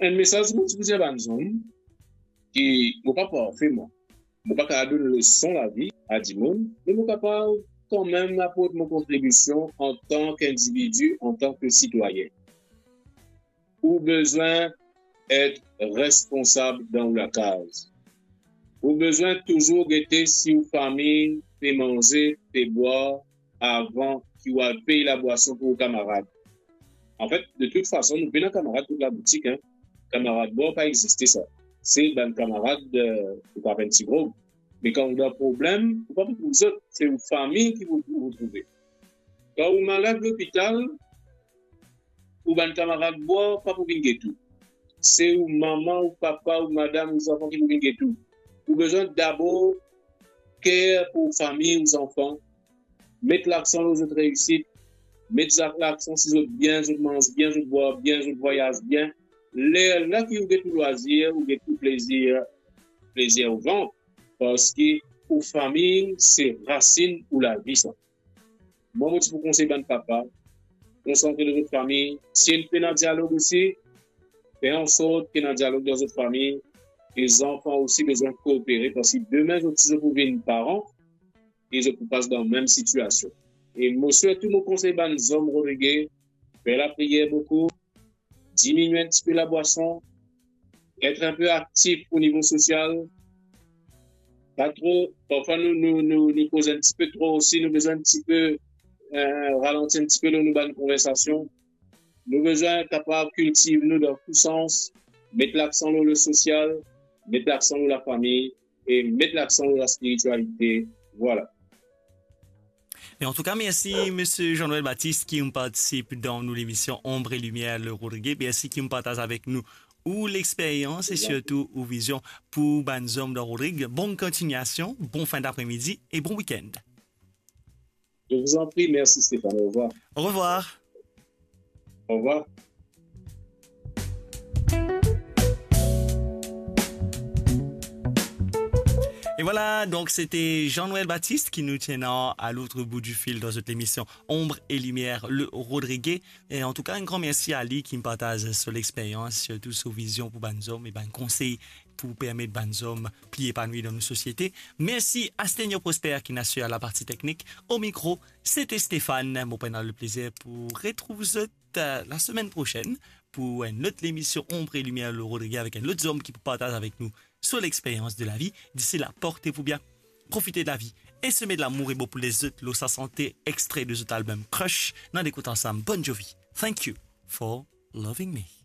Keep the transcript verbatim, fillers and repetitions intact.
Enn mesaz mo ti pou dir bann zom, ki mo pa parfe mwa. Mo pa kapav donn leson lavi a dimoun, me mo kapav kanmem aport mo kontribision antan ki individi, antan ki sitwayin. Ou bizin et responsab dan ou lakaz. Ou bizin touzour gete si ou fami pe manze, pe bwar, avan ki ou al pey labwason pou ou kamarad. Anfet, de tout fason, nou pena kamarad kot laboutik, hein. Kamarad bwar pa existe sa. Se bann kamarad, euh, ou kapav enn ti grog. Me kan ou dan problem, ou pa pou trouv zot, se ou fami ki pou, pou trouve. Kan ou malad lopital, ou bann kamarad bwar pa pou vinn get ou. Se ou mama, ou papa, ou madam, ou zanfan ki pou vinn get ou. Ou bizin dabor ker pou ou fami, ou zanfan, met laksan lor zot reisit, met zak-, laksan si zot bien, zot manz bien, zot bwar bien, zot vwayaz bien. Lerla ki ou get ou lwazir, ou get ou plezir, plezir ou vant, parski ou fami se rasinn ou lavi sa. Mwa, mo ti pou konsey bann papa, konsantre lor zot fami. Si enn pena dialog osi, fer ansort ki ena dialog dan zot fami. E zanfan osi bizin koopere, parski demin zot, si zot pou vinn paran, e zot pou pas dan mem sitiasion. E mo sirtou mo konsey bann zom Rodrige, fer lapriyer boukou, diminie enn tipe labwason, et enn pe aktif o nivo sosial, pa tro, parfwa nou, nou, nou, nou koz enn tipe tro osi, nou bizin enn tipe, euh, ralanti enn tipe lor nou bann konversasion. Nou bizin kapav kiltiv nou dan tou sans, met laksan lor le sosial, met laksan lor lafami, e met laksan lor laspiritialite. Vwala. E antouka, mersi, Misie Jean-Noël Baptiste, ki inn partisip dan nou lemision Ombre et Lumière, le Rodrige. Mersi ki inn partaz avek nou ou lexperyans e sirtou ou vizion pou bann zom dan Rodrig. Bonn kontignasion, bon fin dapremidi e bon wikenn. Je vous en prie, merci Stéphane, au revoir. Au revoir. Au revoir. E vwala, donk, sete Jean-Noël Baptiste ki nou ti ena a lot bout di fil dan zot lemision Ombre et Lumière, le Rodrige. E antouka, enn gran mersi a li ki partaz so lexperyans, sirtou so vizion pou bann zom e bann konsey pou permet bann zom pli epanwi dan nou sosiete. Mersi Astenia Prosper ki inn asir laparti teknik. O mikro, sete Stéphane. Mo pou ena leplezir pou retrouv zot, euh, lasemenn prosenn pou enn lot lemision Ombre et Lumière, le Rodrige, avek enn lot zom ki pou partaz avek nou so lexperyans de lavi. Disi la, portez-vous bien, profitez de la vie et semez de l'amour e bon pou lezot lor sa sante extre de zot album Crush. Nou al ekout ansam Bon Jovi, Thank You for Loving Me.